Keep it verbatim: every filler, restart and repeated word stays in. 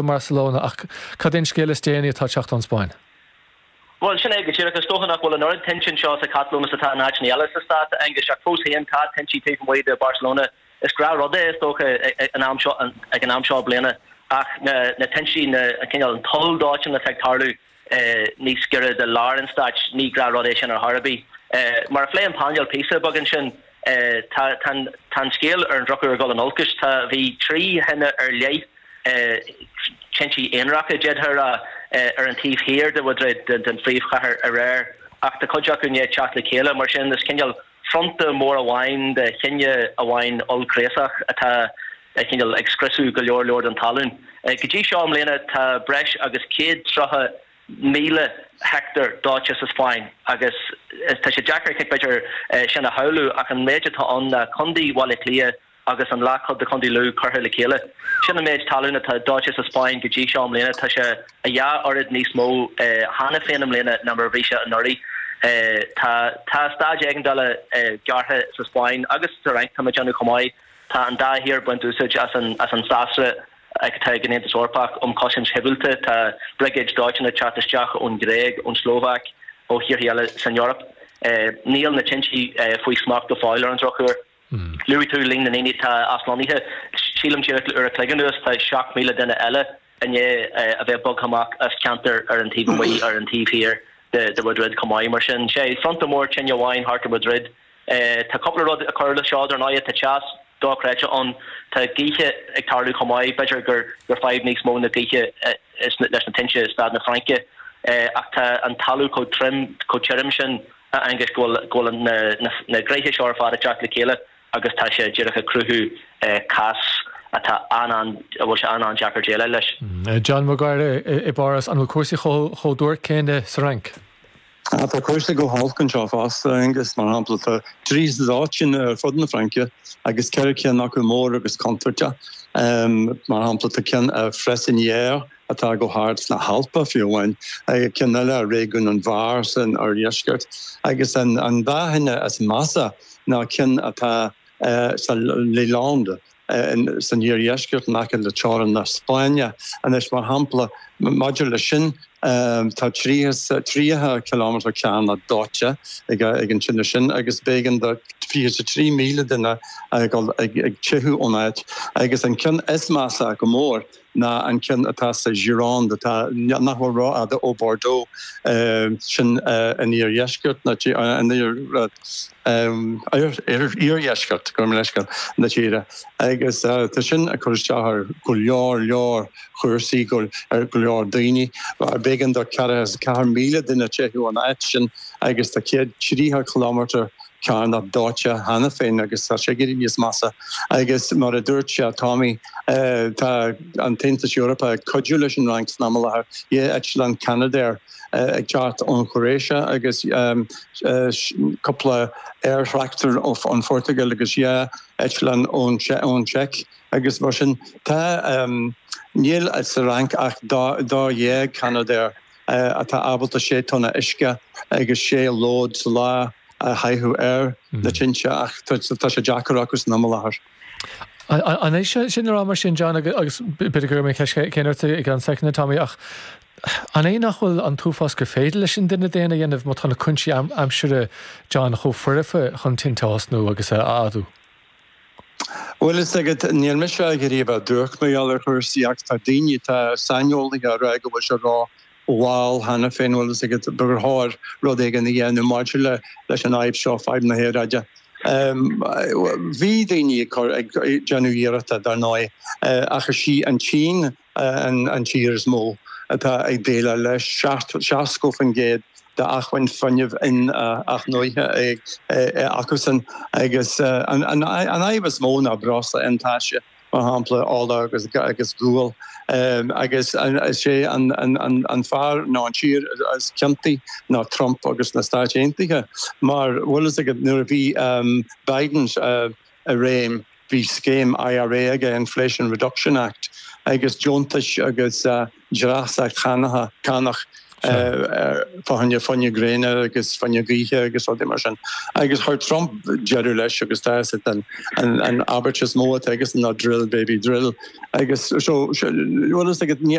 mBarcelona ach cad é an scéal is déanaí atá ag teacht ón Spáinn. Bhuel sin é go díreach is dócha nach bhfuil an oiread tinte anseo sa Catalóin is atá in áiteanna eile sa stát Aengus ach fós féin tá tinte taobh amuigh de Barcelona is gnáthrud é is dócha an am seo ag an am seo bliana ach na na tinte na cineál an toll dóiteáin atá ag tarlú níos gaire do lár an stáit ní gnáthrud é sin ar chor ar bith. Mar a phléigh an painéal píosa beag ansin tá tá an scéal ar an drochuair ag dul in olcas tá bhí trí thine ar leith tinte aonaracha d'fhéadfá a rá ar an taobh thiar de Mhaidrid den phríomhchathair aréir ach tá cuid acu i ndiaidh teacht le chéile mar sin is cineál fronta mór amháin de thine amháin ollchraosach atá cineál ag scriosadh go leor leor den talún. Go dtí seo i mbliana tá breis agus céad tríocha míle heicteár dóite sa Spáinn agus tá sé deacair b'fhéidir sin a shamhlú ach an méid atá ann ná Contae Bhaile Átha Cliath agus an leathchuid de Chontae Lú curtha le chéile. Sin an méid talún atá dóite sa Spáinn go dtí seo i mbliana. Tá sé a dhá oiread níos mó cheana féin i mbliana ná mar a bhí sé anuraidh. Tá tá staid éigeandála gearrtha sa Spáinn agus sa Fhrainc tá mé ag déanamh chomh maith. Tá an dá thír ag baint úsáid as an as an sásra atá ag an Aontas Eorpach um chosaint shibhialta. Tá briogáid dóiteáin ag teacht isteach ón Ghréig, ón Slóvaic, ó thíortha eile san Eoraip. Níl na tinte faoi smacht go fóill ar an drochuair. Luaigh tú líon na ndaoine atá aslonnaithe. Sílim díreach le uair a chloig anuas tá seacht míle duine eile i ndiaidh a bheith bogtha amach as ceantar ar an taobh amuigh ar an taobh thiar de Mhaidrid chomh maith. Mar sin, sé fronta mór tine amháin thart ar Mhaidrid. Tá cúpla rud ag cur le seo dar ndóigh, tá teas dochreidte ann, tá gaoithe ag tarlú chomh maith, b'fhéidir gur gur fadhb níos mó na gaoithe leis na tinte i stát na Fraince ach tá an talamh chomh trim, chomh tirim sin. a Aonghuis, go bhfuil go bhfuil na na gnéithe seo ar fad ag teacht le chéile agus tá sé díreach ag cruthú cás atá an-an a bhfuil sé an-an-deacair déileáil leis. John Maguire i bPáras, an bhfuil cúrsaí chomh chomh duairc céanna sa Fhrainc? Tá cúrsaí go holc anseo fosta, Aengus, mar shampla tá trí dóiteán ar fud na Fraince agus ceithre cinn acu mór agus contúirteach. Mar shampla tá ceann i Freissinières atá go hard sna hAlpa fiú amháin, ceann eile i réigiún an Var san oirdheisceart, agus an an dá thine is measa ná ceann atá sa Les Landes san iardheisceart in aice le teorainn na Spáinne. Anois, mar shampla, maidir leis sin, tá tríocha cileámetar cearnach dóite ag an tine sin agus b'éigean do fiche a trí míle duine a dhul ag teitheadh ón áit. Agus an ceann is measa go mór ná an ceann atá sa Gironde, atá nach bhfuil rófhada ó Bordeaux, sin in iardheisceart na iardheisceart, gabh mo leithscéal, na tíre. Agus tá sin ag cur isteach ar go leor leor chúrsaí, ar go leor daoine. B'éigean do ceathracha is a ceathair míle duine teitheadh ón áit sin agus tá céad tríocha kilometre cearnach dóite cheana féin agus tá sé ag éirí níos measa. Agus mar a dúirt sé Tommy, tá an tAontas Eorpach ag cuidiú leis an Fhrainc san am i láthair, dhá eitleán Canadair ag teacht ón Chróáise agus cúpla aerthractor ón Phortaingéil agus dhá eitleán ón tSeic agus mar sin tá níl sa Fhrainc ach dó dhéag Canadair atá ábalta sé tonna uisce agus sé lód sa lá a chaitheamh ar na tinte ach tá sé deacair acu san am i láthair. An é sin a rá mar sin, John, agus b'fhéidir go raibh mé ceist céanna ort i gceann soicind, Tommy, ach an é nach bhfuil an t-uafás gur féidir leis an duine daonna a dhéanamh má tá na cúinsí aimsire, John, chomh foirfe chun tinte a thosnú agus a fhadú? Bhuel, is agat, níl mise ag iarraidh a bheith duairc mar gheall ar chúrsaí ach tá daoine, tá saineolaithe ag rá go bhfuil sé ró-mhall cheana féin, bhfuil fhios agat, gur chóir rud éigin a dhéanamh maidir le leis an fhadhb seo, fadhb na haeráide. Bhí daoine ag cur, ag déanamh iarrachta, dar ndóigh, ach is í an tSín an tír is mó atá ag déileáil leis, seasca faoin gcéad d'acmhainn fuinnimh in-athnuaite acusan agus an fhadhb is mó ná breosla iontaise, mar shampla ola agus agus gual agus is é an fear nó an tír is ciontaí ná Trump agus na Stáit Aontaithe mar bhfuil fhios agat nuair a bhí Biden i réim bhí scéim IRA aige, Inflation Reduction Act, agus deontais agus dreasacht chánach Fá choinne fuinneamh gréine agus fuinneamh gaoithe agus rudaí mar sin. Agus chuir Trump deireadh leis agus tá an an abairt is mó atá aige ná drill baby drill. Agus so bhfuil a fhios agat